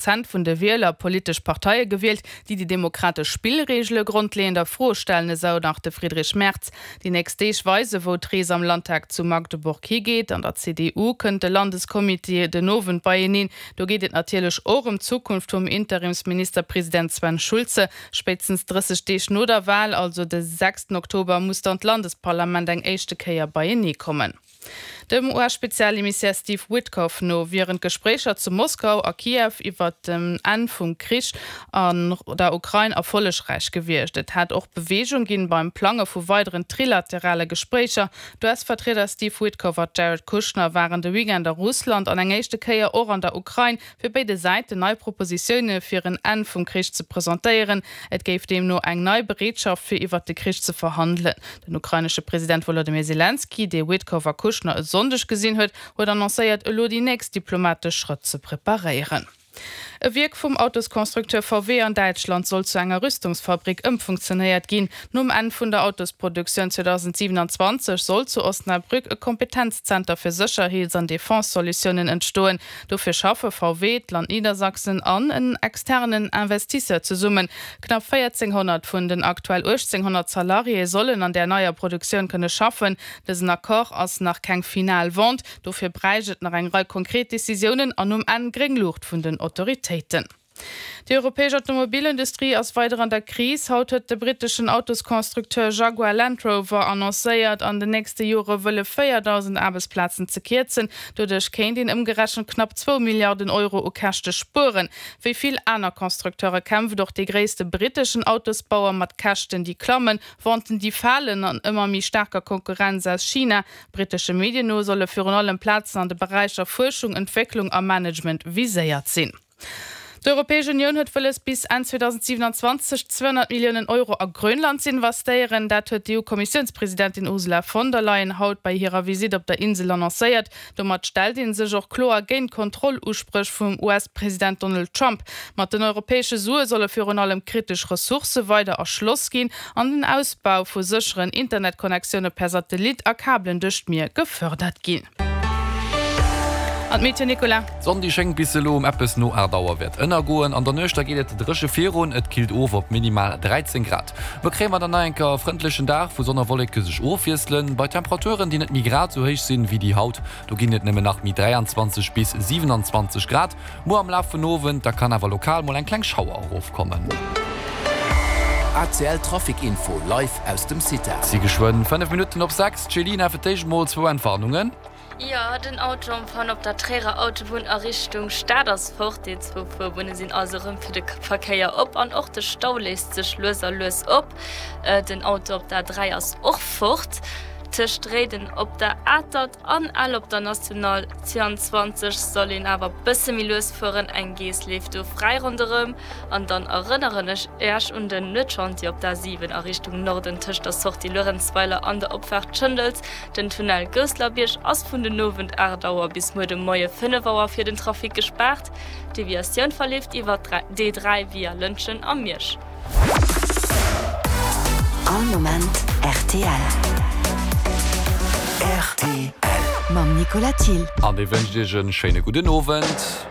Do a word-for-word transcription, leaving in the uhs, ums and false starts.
Prozent vun de Wieler politesch Parteie gewielt, déi déi demokratesch Spillreegele grondleeënd a Fro stellen, esou nach de Friedrich Merz. Déi nächst Deeg weisen, wou d'Rees am Landtag zu Magdeburg higeet. An der C D U kënnt de Landescomité den Owend beieneen. Do geet et natierlech och ëm d'Zukunft vum Interimsministerpresident Sven Schulze. Spéitstens drësseg Deeg no der Wal, also de sechsten Oktober, muss dann d'Landesparlament eng éischte Kéier beienee kommen. Dem U S-Spezialemissär Steve Witkoff no wieren d'Gespréicher zu Moskau a Kiew iwwer den Enn vum Krich an der Ukrain erfollegräich gewiescht. Et hätt och Beweegung ginn beim Plange vu weideren trilaterale Gespréicher. D'U S-Vertrieder Steve Witkoff a Jared Kushner waren de Weekend a Russland an eng éischte Kéier och an der Ukrain, fir béide Säiten nei Propositioune fir en Enn vum Krich ze presentéieren. Et géif deemno eng nei Bereetschaft fir iwwer de Krich ze verhandelen. Den ukrainesche President Wolodymyr Selenskyj, dee Witkoff a Kushner e Sonndeg gesinn huet, huet annoncéiert, elo déi nächst diplomatesch Schrëtt ze preparéieren. E Wierk vum Autosconstructeur V W an Däitschland soll zu enger Rüstungsfabrik ëmfunktionéiert ginn. Nom Enn vun der Autosproduktioun zweedausendsiwenanzwanzeg soll zu Osnabrück e Kompetenzzenter fir Sécherheets an Defense-Solutiounen entstoen. Dofir schaffe V W, d'Land Niedersachsen an en externen Investisseur zesummen. Knapp véierzénghonnert vun den aktuell uechtzénghonnert Salariéë sollen an der neier Produktioun kënne schaffen. Dësen Accord ass nach keng final Vente, dofir bräicht et nach eng Rei konkret Decisiounen an um Enn gréng Luucht vun den Autoritéiten. Déi europäesch Automobilindustrie ass weider an der Kris. Haut huet de britteschen Autosconstructeur Jaguar Land Rover annoncéiert, an den nächste Jore wëlle véierdausend Aarbechtsplazen ze kierzen. Doduerch kéint een ëmgerechent knapp zwou Milliarden Euro u Käschte spueren. Wéi vill aner Constructeure kämpft och dee gréisste britteschen Autosbauer mat Käschten, déi klammen, Venten, déi falen an ëmmer méi staarker Konkurrenz aus China. Brittesche Medien no solle virun allem Plazen an de Beräicher Fuerschung, Entwécklung a Management viséiert sinn. D'Europäesch Unioun huet wëlles, bis Enn zweedausendsiwenanzwanzeg zweehonnert Milliounen Euro a Grönland ze investéieren. Dat huet d'E U-Kommissiounspresidentin Ursula von der Leyen haut bei hirer Visitt op der Insel annoncéiert. Domat stellt ee sech och kloer géint Kontrolluspréch vum U S-President Donald Trump. Mat den europäesche Sue solle virun allem kritesch Ressourcë weider erschloss ginn an den Ausbau vu sécheren Internetconnectioune per Satellit a Kabelen duerch d'Mier gefërdert ginn. An d'Meteo, Nicolas? D'Sonn déi schéngt bis elo um eppes no aacht Auer wäert ënnergoen. An der Nuecht da geet et dréche virun, et killt of op minimal dräizéng Grad. Muer kréie mer dann nach eng Kéier e frëndlechen Dag, wou Sonn a Wolleke sech ofwiesselen, bei Temperaturen déi net méi grad esou héich sinn wéi déi haut. Do ginn et nëmmen nach méi dräianzwanzeg bis siwenanzwanzeg Grad. Muer am Laf vun Owend da kann awer lokal mol eng kleng Schauer erofkommen. A C L Trafic Info live aus dem CITA. Et si geschwënn fënnef Minutten op sechs. D'Céline, fir d'éischt mol zwou Entwarnungen. Jo, den Auto en panne op der Tréierer Autobunn a Richtung Stad ass fort. Déi zwou Fuerbunne sinn also erëm fir de Verkéier op an och de Stau léist sech lues a lues op. Den Auto op der A dräi ass och fort. Tëscht Réiden op der Atert an Ell op der National zwouanzwanzeg soll een awer bësse méi lues fueren, eng Geess leeft do fräi ronderëm. An dann erënneren ech Äech un den Nuetschantier op der A siwen a Richtung Norden tëscht der Sortie Luerenzweiler an der Opfaart Schëndels. Den Tunnel Gousselerbierg ass vun den Owend aacht Auer bis muer de Moie fënnef Auer fir den Trafic gespaart. D'Deviatioun verleeft iwwer d'D dräi via Lëntgen a Miersch. All Moment rtl. Rtl. Mam Nicolas Thill. An dee wënscht Iech e schéine gudden Owend.